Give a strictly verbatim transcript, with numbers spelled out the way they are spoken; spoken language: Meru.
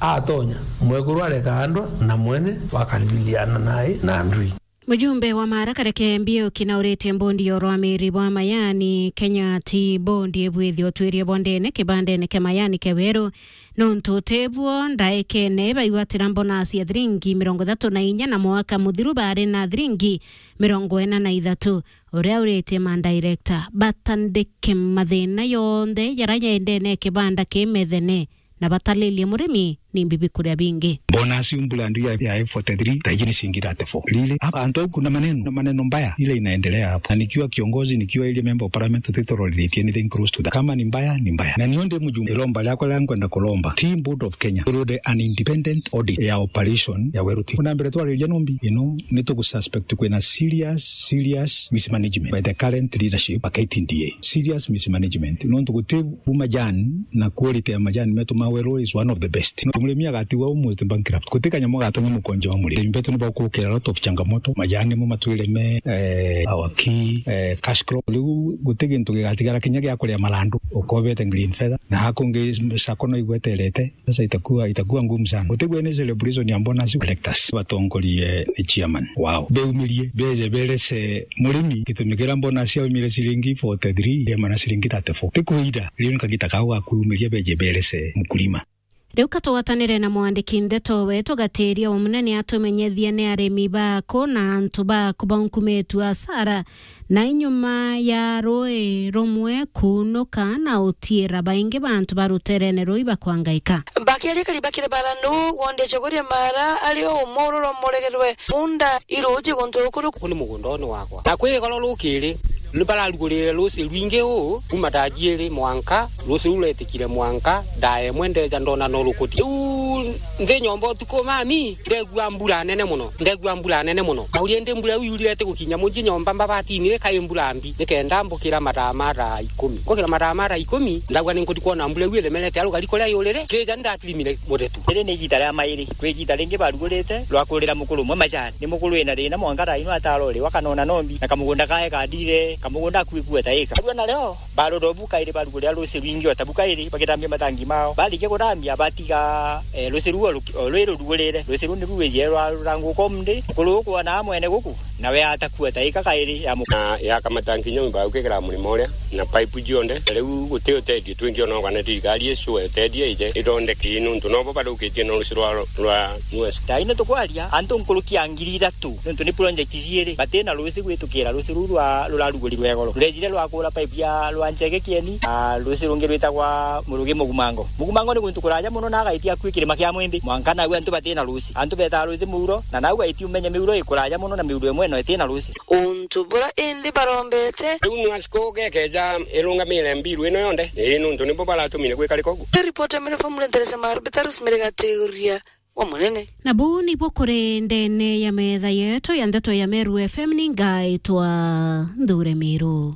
Atonya, mwekuru areka andwa na mwene wakaribiliana nae na ndui. Mujumbe wa Mara Kareke Mbiuki nauritie mbondi ya urwamiri bwa majani Kenya Tea Board ibwithie utwiria bwa ndene kibandene kia majani kia Weru, nontu utibwo ndaekene baigwatira mbonasi ya thiringi mirongo ithatu na inya na mwaka muthiru bari na thiringi mirongo ina na ithatu. Uria uritie ma director batandike mathina yonthe jaria jendene kibanda ki Methene na batalilie murimi ni mbibi kuria bingi. Bonus mbura ndu ya, ya F forty-three, taiji ni ciringi thirty-four. Really? Hapa antu au kuna maneno, na maneno mbaya ile inaendelea hapo. Na nikiwa kiongozi, nikiwa ile member of parliament, tutitolerate anything close to that. Kama ni mbaya, ni mbaya. Na nio ndi mujumbe, iromba riakwa ria nkwenda kuromba Tea Board of Kenya irude an independent audit ya operation ya Weru Tea. Kuna mbere twariria nombi, you know, ni tugususpect kwina serious, serious mismanagement by the current leadership ya K T D A. Serious mismanagement. Nontu guti u majani na quality ya majani metu ma Weru is one of the best. No, murimi agatigwa almost bankrupt. Guti kanyamu gatonya mukonjo wa murimi. Arimi betu ni bagukira a lot of changamoto. Majani mo matwire me, eh, our key, eh, cash crop. Riu guti gintu gigatigara kinya gia kuria marandu. Ukobete green feather. Na hakungi sacco no igweterete. Sasa itakuwa, itakuwa ngumu sana. Gutigwe ni celebration ya bonus collectors. Batongorie ni chairman wao. Beumirie, beje berese murimi gitumi kiria bonus yaumire ciringi forty-three, yema na ciringi thirty-four. Ti kuira, riu ni kagita kau ga kwiumiria beje berese mkulima. Riu katugwatanire na mwandiki ndeto wetu Gatiria wa Munene atumenyethie ni arimi baku na antu baku baunkumitu asara na inyuma ya rui rumwe kuunuka na utiira baingi bantu ba ruterene ruu ibakwangaika. Bakiaria kari bakiri baranu, wondi Chogoria Mara ari o umwe ururomboregerwe punda iruji guntu ukuru. Kuu ni mugundone wakwa. Na kwi goro rukiri, ni bararugurire ruci rwingi uu, kuma thaa jiiri mwanka, ruci ruu rwetikire mwanka, thaa imwe ndeja ndona no rukuti. Riu nthi nyomba utuku mami, ndegua mbura nene muno, ndegua mbura nene muno. Kauria indi mbura iu yurire ati gukinya munji nyomba mbabatini ri kai mbura mbi, nikenda mbukira mathaa ma thaa ikumi. Nkukira mathaa ma thaa ikumi, ndagua ni nkuthi kwona mbura iu iremerete aru gari kuria yurire, kija ndatirimire muthetu. Riri ni igita ria mairi, kwi igita ringi barugurite rwa kurira mukuru umwe majani. Ni mukuru wina thina mwanka thaa ino atarori, wakanona nombi, na kamugunda kae kadire, kamugunda akui kueta ika. Arua nario, barora bukairi barugurira ruci rwingi o ta bukairi, bagitambia matangi mao. Barikia gutambia, batiga, eh, ruci ruu o ruki-, o rwi rurugurire. Ruci ruu niru rwijire rwa ruranguka umthi. Mukuru ukwona mwene guku, nawe atakua ta ika kairi ya mu- Na yakamata nkinya mbau kikira murimo uria, na pipe cionthe. Na riu guti uteethio twingi ona kana thirikari icu etethia ije ithondeke nuntu nobo bathukitie na ruci rwa, rwa Nua. Thaa ino tukwaria, antu nkuruki ya ngiri ithatu, nontu ni project ciiri, batina ruci gwitukira ruci ruu rwa, rurarugurirwe igoro. Rurejire rwakura pipe cia rwa Nchege Kieni, na ruci rungi rwitagwa Murugi Mugumango. Mugumango ni guntu kuraja muno na agaitia akui kirima kia Mwimbi. Mwanka nau antu batina ruci. Antu betaa ruci muuro, na nau gaitia umenye miuro ikuraja muno na miuro imwe no itina ruci. Untu bura indi barombete. Riu Nua siko gekeja irungamire mbiru ino yonthe. Ii nuntu nibo baratumire gwika riko uguo. Ripoti ya Mary Famule Nteresa Maru, Betarus Mary Gatiuria wa Munene. Na buu nibuo kuri ndene ya metha yetu ya ndeto ya Meru F M, ni ngaitwa Nthure Miru.